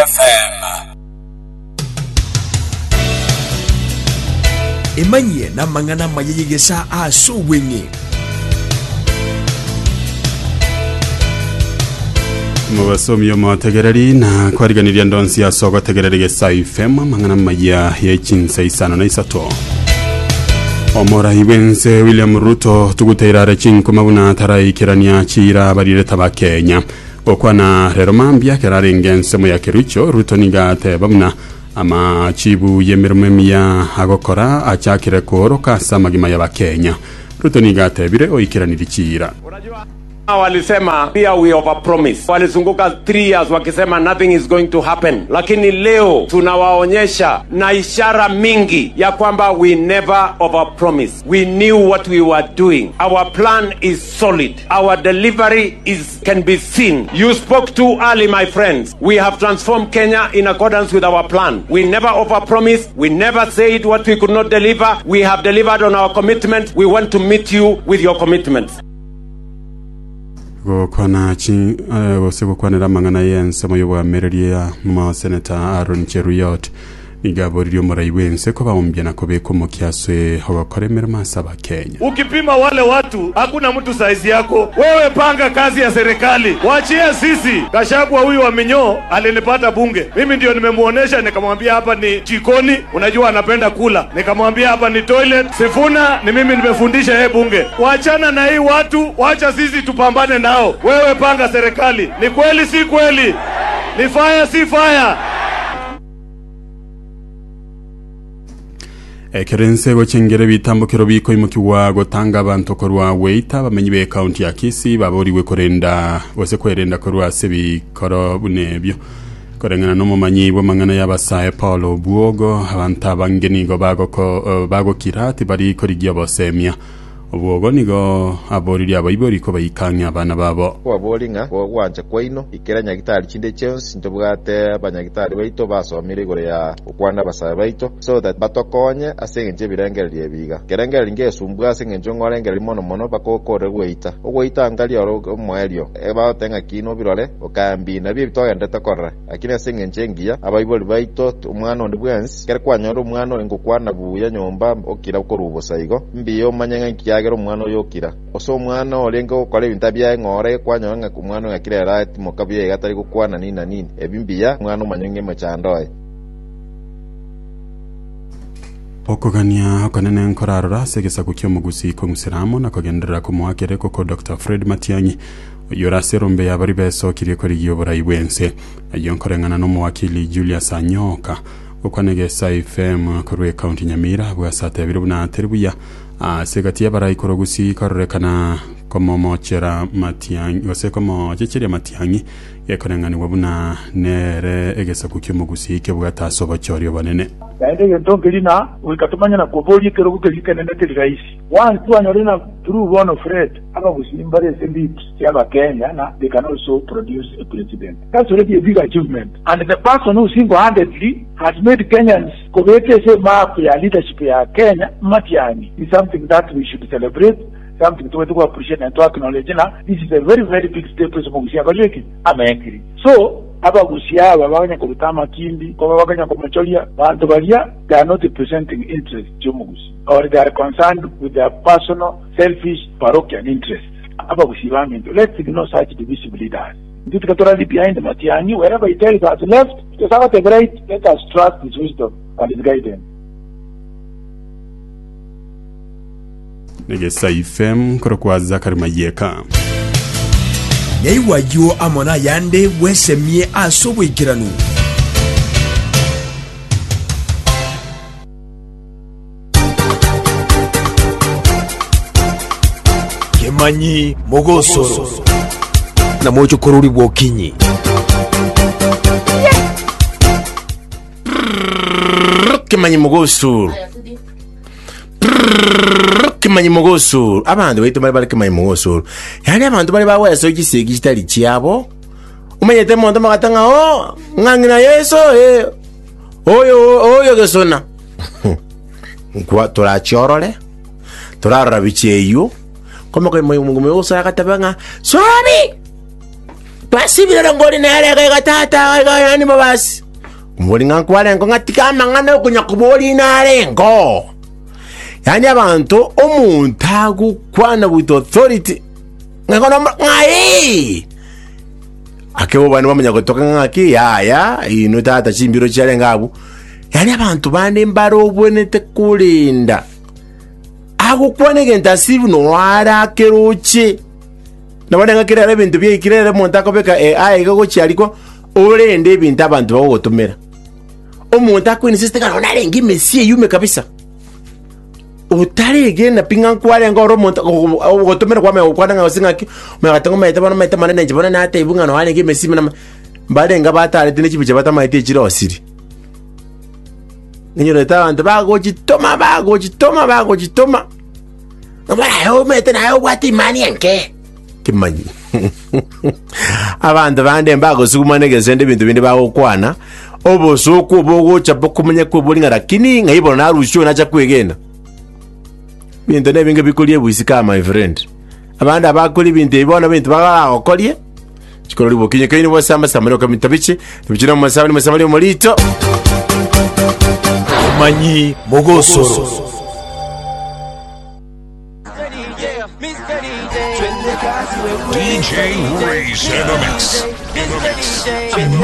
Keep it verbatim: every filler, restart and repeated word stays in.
F M. Emanyie n'amang'ana amaya y'egesa ase obweng'e. Mubasomi omotegereri na kwariganiria ndonsi ase ogotegereri Gesa F M amang'ana amaya y'echinsa isano na isato. Omorai bwense William Ruto tuguteirare chinkuma buna taraikerania chira barireta ba Kenya. Gokwana rero mambia kerarenge ensemo ya Kericho Ruto niga ateba buna amachibu y'emirimo emiya agokora achakire kuoroka ase amagima y'Abakenya. Ruto niga atebire oikeraniri chira. Walisema pia we overpromise. Walizunguka three years wakisema nothing is going to happen. Lakini leo tunawaonyesha na ishara mingi ya kwamba we never overpromise. We knew what we were doing. Our plan is solid. Our delivery is can be seen. You spoke too early, my friends. We have transformed Kenya in accordance with our plan. We never overpromise. We never said what we could not deliver. We have delivered on our commitment. We want to meet you with your commitments. Gokwana chi gose gokwanera mang'ana y'ensemo y'obwamereria mo Senator Aaron Cheruiyot nigaboririo omorai bwense kobaombia na kobeka omokia ase ogokora emeremo ase Abakenya. Ukipima wale watu hakuna mtu saizi yako. Wewe panga kazi ya serikali, wachie sisi. Gachagua huyu wa minyoo alinipata bunge, mimi ndio nimemuonesha, nikamwambia hapa ni jikoni, unajua anapenda kula, nikamwambia hapa ni toilet. Sifuna ni mimi nimefundisha yeye bunge. Wachana na hii watu, wacha sisi tupambane nao. Wewe panga serikali. Ni kweli si kweli? Ni fire si fire? Ekerense gochengere bitambukiro biko imukiwa gotanga abantu korwa weita bamenyi be county ya Kisii baboriwe korenda gose kwerenda korwa se bikoro bunebyo korengana n'omumanyi bw'amang'ana y'abasae Paul Obwogo abantu abange nigo bagoko uh, bagokira tibari korigia bosemia. Obwogo nigo aboririe abaibori ko baikang'a abana babo. Kwabori ng'a gwancha kwaino ikera nyagitari chinde chionsi ntobwate abanyagitari baito basomire igoro ya okwana abasae baito so that batokonye ase eng'encho ebirengererio ebiga kerengererio ngesumbwa ase eng'encho ng'orengereria mono mono bakokore gweita ogweita ntari oro omoerio ebagote ng'a kino obirore okambi nabio ebitogendete korora lakini ase eng'encho engiya abaibori baito omwana onde bwensi kere kwanyora omwana oyo ngokwana buya nyomba okira okorubosa igo mbiya omanye ng'a nkiya agera omwana oyo okira ose omwana orenge gokora ebinto biaye ng'ore kwanyora ng'a omwana oyo akirera atimoka buya iga atari gokwana nini na nini ebi mbiya omwana omanye ng'a emechando oye. Okogania okonene nkorarora ase egesaku kia omogusi kong'useramo na kogenderera komoakere koko Doctor Fred Matiang'i oyio ore ase erombe yabari besokirie korigia oborai bwense ayio nkoreng'ana n'omowakili Julius Anyoka gokwana Gesa F M korwa ekaunti Nyamira bwase atebire buna ateri buya ase egati y'abarai korogusi kororekana komomochera Matiang'i gose komochecheria Matiang'i gekoreng'anigwa buna nere egesaku kia omogusi kebwate ase obochoria obonene. Naende egento nkeri na goika tomanye na koboria ekerogo keria kenene keri rahisi. Once twanyorire na through bono Fred abagusii mbare ase lips chia Abakenya na they can also produce a president. That's already a big achievement. And the person who single-handedly has made Kenyans kobeka ase map ya leadership ya Kenya Matiang'i is something that we should celebrate, something to to appreciate and to acknowledge. Na this is a very very big step ase omogusi akorire amengiri. So abagusi aba baganya koruta amakindi koba baganya komochoria bantu baria they are not representing interest y'omugusi or they are concerned with their personal selfish parochial interests. Abagusi baminto, let's ignore such divisive leaders. Nditukatora behind Matiang'i wherever he tells us left, to right, let us trust his wisdom and his guidance. Negesa F M korokwa Zakari Mayeka. Nyaiwayo amona yande bwesemie ase obwaikeranu. Kemanyi mogosoro na mocho korori bwokinyi. Kemanyi mogosoro. Kimanyi mogosoro. Abantu baitu bari bari kimanyi mogosoro. Yani abantu bari baweso gisegi kitari chiabo. Umanyete muntu magatanga o ng'ang'ina Yesu eh oyo oyo gesona. Kwa turachiorore. Turarora bicheyo. Koma ko moyo mungu moyo saka tabanga. Sorry. Twasibire ngori nere iga tata iga yani mabasi. Mbori ng'a nkwarengo ng'atika amang'ana okonya kobori narengo. Yani abanto omonto agokwana with authority. Ng'akono ng'ai. Ake bana bamanya gotoka ng'aki yaya ino tata chimbiro chiarenga abu. Yani abantu bande mbarobwenete kurinda. Agokwana egento asibu no arakeroche. Nabone ng'akire ara ebinto byaikire omonto akobeka A I iga gochiarikwa orende ebinto abantu bagogotomera. Omonto akoinsist ng'a narenge emesi eyume kabisa. Otaregena pi ng'a nkwarenge ore omonto ogotomera kwamanya gokwana ng'a gose ng'aki omanya goteba omanyete bono omanyete manene inche bono natebiwa ng'a noarenge emesi buna mbarenga batarete ne chibicha batamaete echirosiri. Ninyorete abanto bagochitoma bagochitoma bagochitoma. Ng'a omanyete naye obwate imani enke. Kimanyi. Abanto bande mbagosugumana egesende ebinto binde bagokwana obosoku obogocha bokomenya kwebori ng'a lakini ng'a ibono narusio nacha kwegena. Binto nebinge bikorie ebwisika my friend. Abande abakori ebinto ebi bono ebinto bagagokorie chikorori bokinye keini bose amasamari okamita bichi bichira omasabani masabani omorito Omanyi Mogosoro. D J Race in the mix. In the mix.